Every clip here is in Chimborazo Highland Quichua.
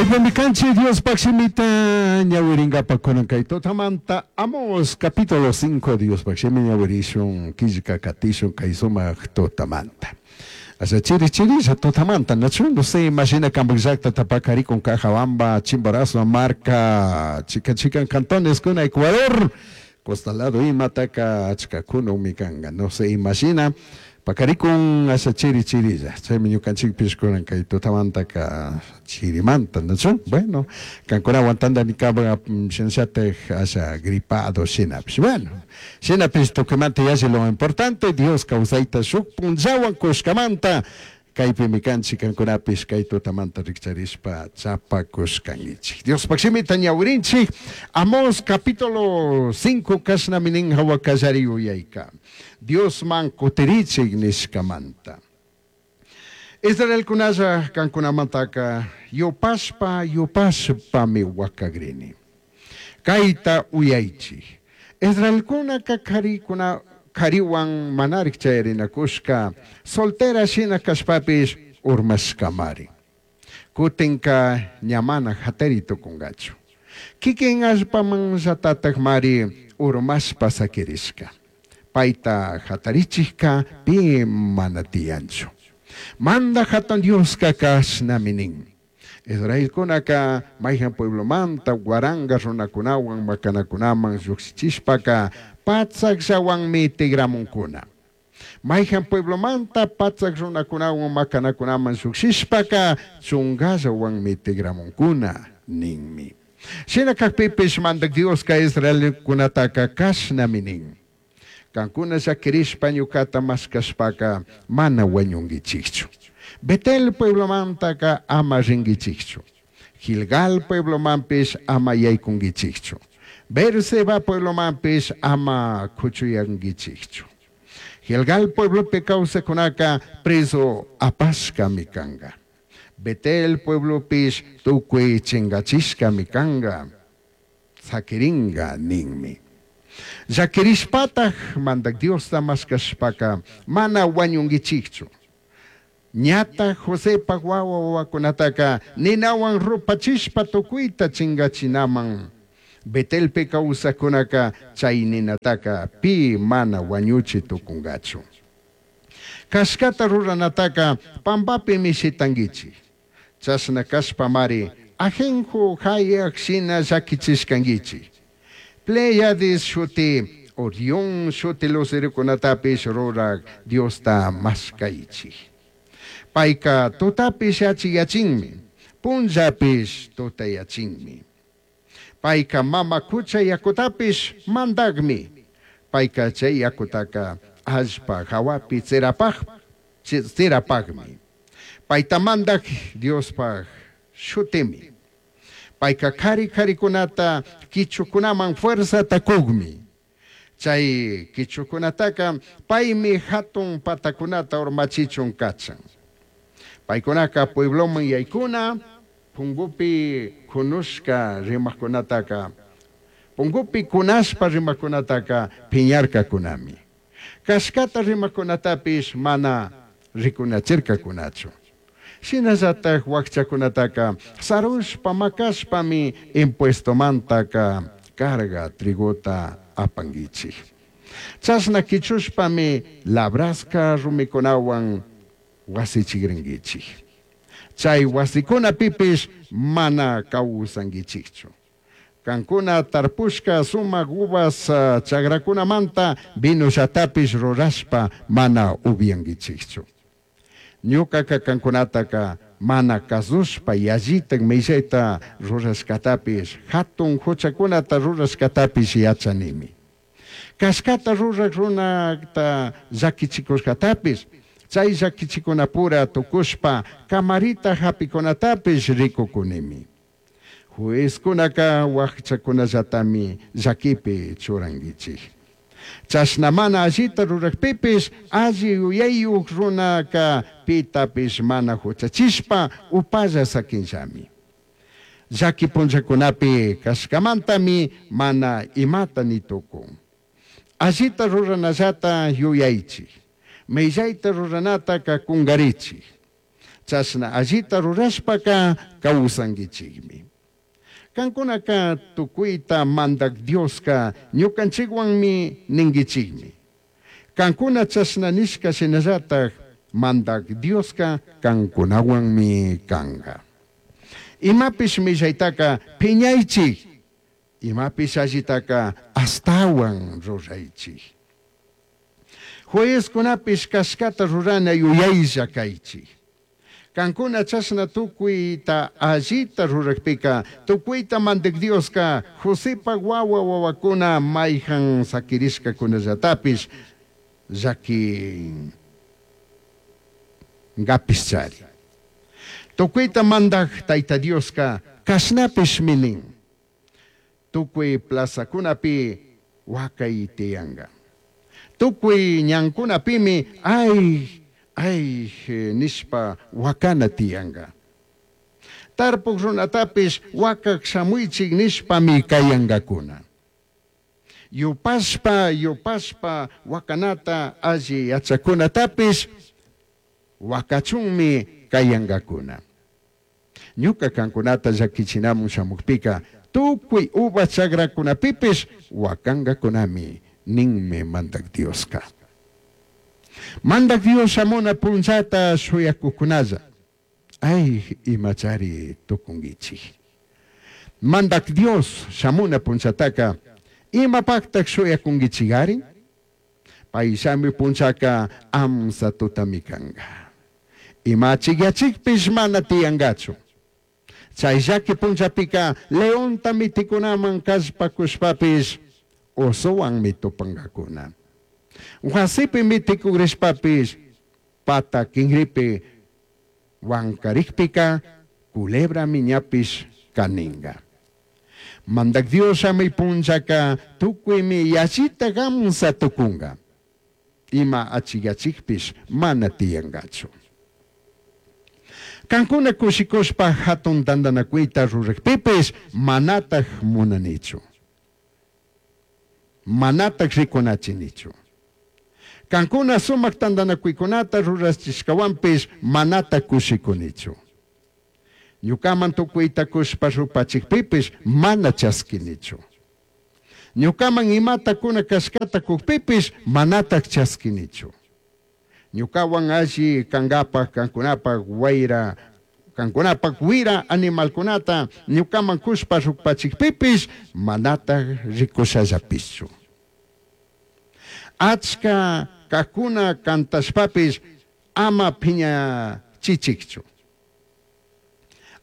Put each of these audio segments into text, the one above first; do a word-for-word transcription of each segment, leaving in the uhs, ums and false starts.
Kaypimi kanchik Diospaq shimita ñawiringapa kunan kay tutamanta Amos capítulo cinco Diospaq shimi ñawirishun killka katishun kay sumaq tutamanta. Asha chiri chirilla tutamanta, nachu? No sé, imagina kanpak llaqtata pakarikun Cajabamba, Chimborazo, Marca, chikan chikan cantones kuna Ecuador, costa lado imataka achka kunumi kanka, no sé, imagina pakarikun asha chiri chirilla, chaymi ñukanchikpish kunan kay tutamantaka chirimanta, nachu? Bueno, kankunawan tantanikapa shinallatak asha gripado shinapish, bueno, shinapish tukuymanta yalli lo importante, Dios kawsayta shuk punllawan kushkamanta, kaypimi kanchik kankunapish kay tutamanta rikcharishpa chapakushkankichik. Diospaq shimita ñawirinchik, Amos capítulo cinco kashnami nin hawa kallari yuyayka. Diosman kutirichik nishkamanta. Israelkunalla kankunamantaka yupashpa yupashpami wakakrini. Kayta uyaychik. Israelkunaka karikuna kariwan manarik chayarinakushka soltera shina kashpapish urmashkamari. Kutinka ña mana hatari tukunkachu. Kikin allpaman llatatakmari urmashpa sakirishka. Payta hatarichikka pi mana tiyanchu. Manda hatun Dioska kashnami nin. Israelkunaka mayhan pueblomanta waranga runakunawan makanakunaman lluqshichishpaka patsakllawanmi tigramunkuna. Mayhan pueblomanta patsak runakunawan makanakunaman lluqshishpaka chunkallawanmi tigramunkuna ninmi. Shina kakpipish mandak Dioska Israelkunataka kashnami nin. Kankuna llakirishpa ñukata mashkashpaka mana wañunkichikchu. Betel pueblomantaka ama rinkichikchu. Gilgal pueblomanpish ama yaykunkichikchu. Beerseba pueblomanpish ama kuchuyankichikchu. Gilgal pueblopi kawsakunaka preso apashkami kanka. Betel pueblopish tukuy chinkachishkami kanka. Sakirinka ninmi. Llakirishpataj mandak Diosta mashkashpaka mana wañunkichikchu. Ñata Josepak wawa wawakunataka ninawan rupachishpa tukuyta chinkachinaman. Betelpi kawsakkunaka chay ninataka pi mana wañuchi tukunkachu. Kashkata ruranataka pampapimi shitankichik. Chashna kashpamari ajenjo hayak shina llakichishkankichik. Pleiades shuti Orión shuti lucerokunatapish rurak Diosta mashkaychik. Payka tutapish achiyachinmi, punllapish tutayachinmi. Payka mama kucha yakutapish mandakmi. Payka chay yakutaka allpa hawapi tsirapaj, tsirapajmi. Payta mandak Diospaj shutimi. Payka kari karikunata kichukunaman fuerzata kugmi. Chay kichukunataka paymi hatun patakunata urmachichun kachan. Paykunaka puebloman yaykuna, pungupi kunushka rimakunataka, pungupi kunashpa rimakunataka piñarkakunami. Kashkata rimakunatapish mana rikunachirkakunachu. Shinallatak wakchakunataka sarushpa makashpami impuestomantaka carga trigota apankichik. Chashna kichushpami labraska rumikunawan wasichikrinkichik. Chay wasikunapipish mana kawsankichikchu. Kankuna tarpushka sumak uvas chakrakunamanta vinollatapish rurashpa mana upyankichikchu. Ñukaka kankunataka mana kasushpa yallitak millayta rurashkatapish, hatun huchakunata rurashkatapish yachanimi. Kashkata rurak runata llakichikushkatapish, chay llakichikunapura tukushpa kamarita hapikunatapish rikukunimi. Juezkunaka wakchakunallatami llakipi churankichik. Chashna mana allita rurakpipish alli yuyayuk runaka pitapish mana huchachishpa upalla sakinllami. Llaki punllakunapi kashkamantami mana imata ni tukun. Allita ruranallata yuyaychik. Millayta ruranataka kunkarichik. Chashna allita rurashpaca causanguichijmi. Cancunaca tucuita Mandaj Diosca ñucanchijhuanmi ninguichijmi. Cancuna chashna nishca shinallataj Mandaj Diosca cancunahuanmi canga. Imapish millaitaca piñaichij, imapish allitaca ashtahuan ruraichij. Juezcunapish cashcata rurana yuyailla caichij. Cancuna chashna tucuita allita rurajpica, tucuita Mandaj Diosca Josepaj huahua huahuacuna maijan saquirishcacunallatapish llaquingapishchari. Tucuita Mandaj Taita Diosca cashnapishmi nin. Tucui plazacunapi huacai tiyanga. Tucui ñancunapimi ay, ay nishpa huacana tiyanga. Tarpuj runatapish huacaj shamuichij nishpami cayangacuna. Yupashpa, yupashpa huacanata alli yachacunatapish huacachunmi cayangacuna. Ñuca cancunata llaquichinamun shamujpica tucui uva chagracunapipish huacangacunami ninmi Mandaj Diosca. Mandaj Dios shamuna punllata shuyacujcunalla, ay imachari tucunguichij. Mandaj Dios shamuna punllataca imapajtaj shuyacunguichigari? Pai shami punllaca amsa tutami canga. Ima achijyachijpish mana tiyangachu. Chay llaqui punllapica leonta miticunaman callpacushpapish osowanmi tupangacuna. Huasipi miticugrishpapish pata quinripi huancaricpica culebrami ñapish caninga. Mandaj Dios shamui punllaca tucuimi yallita gamsa tucunga. Ima achijyachijpish mana tiyangachu. Cancuna cushicushpa jatun tandanacuita rurajpipish manataj munanichu. Manataj ricunachinichu. Cancuna sumaj tandanacuicunata rurachishcahuanpish manataj cushicunichu. Ñucaman tucuita cushpa rupachijpipish mana chasquinichu. Ñucaman imata cuna cashcata cujpipish manataj chasquinichu. Ñucahuan alli cangapaj cancunapaj huaira, cancunapaj huira animalcunata ñucaman cushpa rupachijpipish manataj ricushallapishchu. Achca cajcuna cantashpapish ama piñachichijchu.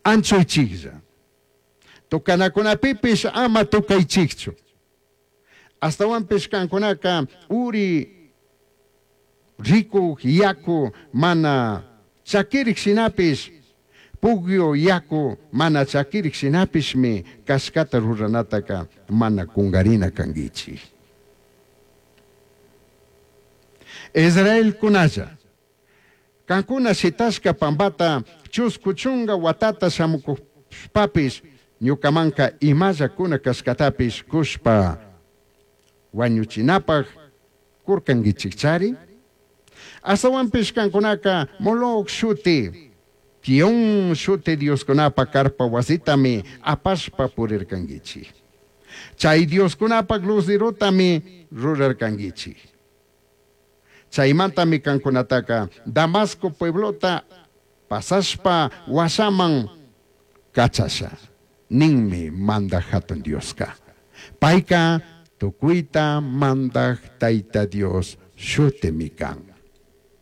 Anchuichijlla. Tocanacunapipish ama tocaichijchu. Ashtahuanpish cancunaca uri ricuj yacu mana chaquirij shinapish, pugyu yacu mana chaquirij shinapishmi cashcata ruranataca mana cungarina canguichij. Israelcunalla, cancuna shitashca pambata chuscu chunga huatata shamucushpapish ñucamanca imalla cuna cashcatapish cushpa huañuchinapaj curcanguichijchari. Ashtahuanpish cancunaca Moloc shuti, Quión shuti dioscunapa carpa huasitami apashpa purircanguichij. Chay dioscunapaj luzerotami rurarcanguichij. Chaymantami cancunataca Damasco pueblota pasashpa huashaman cachasha, ninmi Mandaj Jatun Diosca. Paica tucuita Mandaj Taita Dios shutimi can.